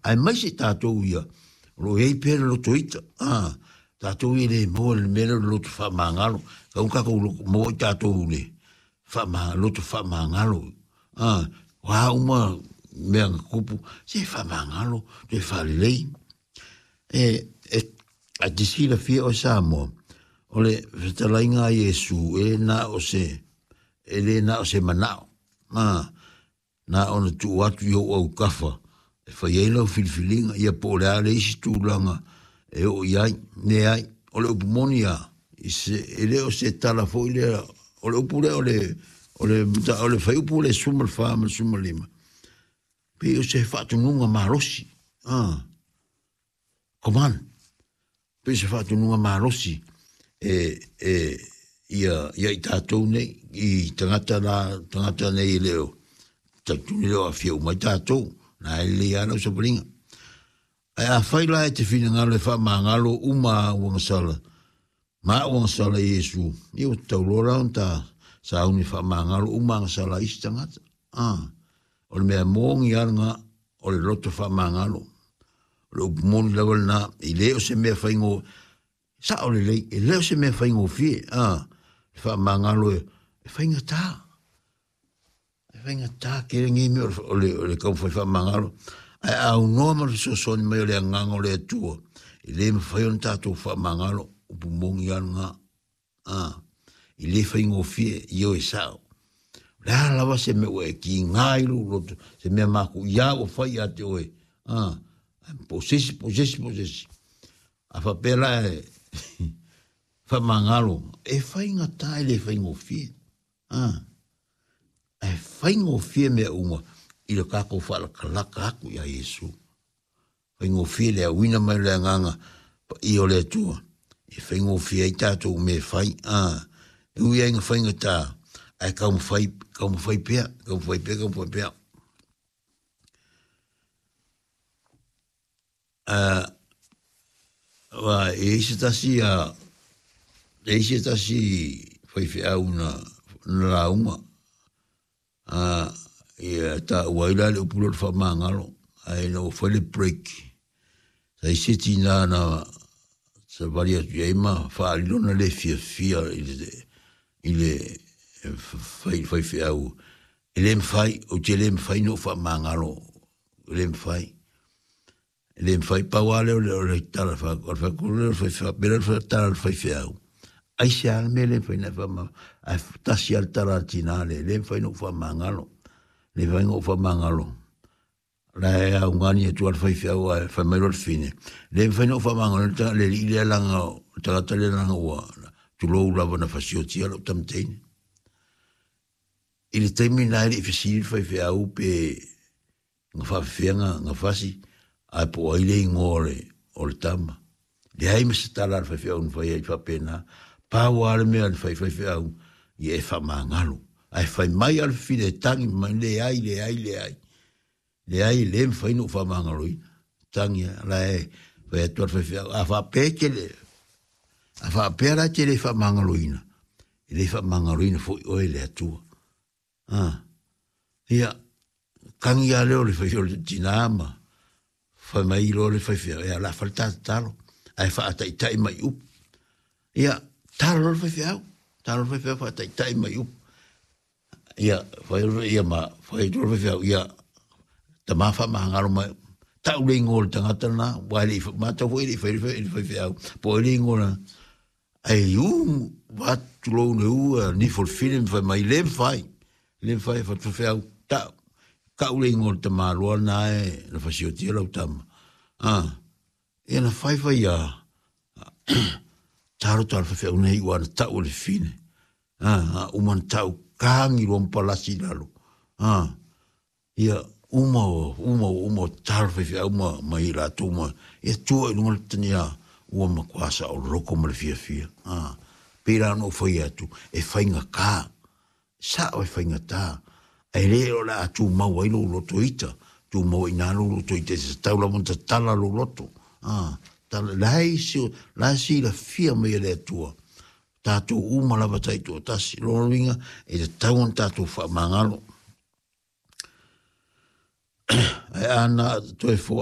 Aemaise tatou ia o lo o i ai pea le loto ita, a, tatou ia e le maua i le mea lea o le loto faamagalo, tatau ona tatou maua i tatou i le faama, loto faamagalo, a, o a uma mea na tupu, se faamagalo, toe faalelei. E, e, a te silafia oe Samoa, o le fetalaiga a Iesu, e le na o se, e le na o se manao, a, na ona tuu atu i ou autafa e fai ai lau filifiliga, ia po o le a le isi tulaga e oo i ai. Leai, o le upu moni lava, e le o se tala foi lea, o le upu lea o le, o le, o le fuaiupu le 14 ma le 15, pei o se faatonuga malosi, ah, command, pei o se faatonuga malosi e, e, ia, ia i tatou nei, i tagata la, tagata nei e le o, talitonu e le o aafia uma ai tatou, na e lelei lava lau savaliga. Ae afai la e te finagalo e faamagalo uma au agasala, ma au agasala i Iesu, ia ua tatau loa la ona ta sauni e faamagalo uma agasala a isi tagata. Ah, o le mea moni lava lena, o le loto faamagalo. O le upu moni lava lena, e le o se mea faigo, sao lelei, e le o se mea faigofie, ah, le faamagalo e, e faigata. E faigata tele nei mea o le, o le taumafai faamagalo. Ae a aunoa ma le fesoasoani mai o le Agaga o le Atua, e le mafai ona tatou faamagalo, upu moni lava lena. A, e le faigofie, ioe sao. O le a lava se mea ua e kiga i lou loto, se mea matuia ua fai ia te oe, a, po o se isi, po o se isi, po o se isi. A faapea la e faamagalo, e faigata e le faigofie. A, ae faigofie mea uma i lo tatou faalatalata atu iā Iesu. Faigofie le auina mai o le Agaga Paia o le Atua e faigofie ai tatou mea e fai. A, e ui ai ina faigata, ae taumafai, taumafai pea, taumafai pea, taumafai pea. A, aua e i ai se tasi a, e i ai se tasi faifeau na, na lauga, a, ia taua ai la le upu lea o le faamagalo, ae ina ua fai le break, sa i ai se tina na savali atu i ai ma faaali lona le fiafia i le, i le faifeau, e le mafai, ou te le mafai ona ou faamagalo, e le mafai. E le mafai, pau lava lea o le, o le tala fa, o le fai o le faifeau, pei o le tala a le faifeau, aisea le mea le mafai ona e faamagalo, ae tasi lava le tala a le tina lea, e le mafai ona ou faamagalo, le mafai ona ou faamagalo. O la e augani atu lava le faifeau ae fai mai loa le fine, le mafai ona ou faamagalo le alii lea leaga o le tagata lea leaga ua, tulou lava na fasiotia lou tama teine. I le taimi lena e le i fesili le faifeau pe na faafefea na fasi, ae po o ai le igoa o le, o le tama. Leai ma se tala a le faifeau na fai ai faapena. Pau lava le mea na fai faifeau, ia e faamagalo. Ae fai mai lava le fafine e tagi mai, leai, leai, leai. Leai, e le mafai ona ou faamagaloina. Tagi lava, la e fai atu lava le faifeau, a faapea e te le, a faapea la e te le faamagaloina, e le faamagaloina foi oe e le Atua. A, ia, tagi lava lea o le fai o le tina ma fai mai loa le faifeau, ia o le a fai le ta tatalo, ae faataitai mai i upu. Ia, talo loa le faifeau, talo le faifeau faataitai mai i upu. Ia, fai ia ma fai atu le faifeau, ia, tama faamagalo mai, tau le igoa o le tagata lena, aua e le i, matou foi e le i faia le faifeau, po o ai le igoa lena. Ai u, va tulou le u, a nifo le fine ma fai mai, le mafai, le mafai, fa faifeau, tau, tau le igoa o le tamaloa lena e na fasiotia lau tama. A, ia na fai fai a, talo talo faifeau nei ua na tau e le fine. A, a uma na tau, kagi loa ma palasi i lalo. A, Ia, uma o, uma o, uma o tatalo faifeau ma, ma i latou ma, ia tua i luga le tania ua matua saoloko ma le fiafia. A, pei la ona ou fai atu, e faigata, sao e faigata, ae le o le a tumau ai lou loto ita, tumau ai i ina lou loto ita, e tatau lava ona tatala lou loto. A, tala, la e, la e silafia mai e le Atua, tatou uma lava taitoatasi, lona uiga, e tatau ona tatou faamagalo. Ae a na toe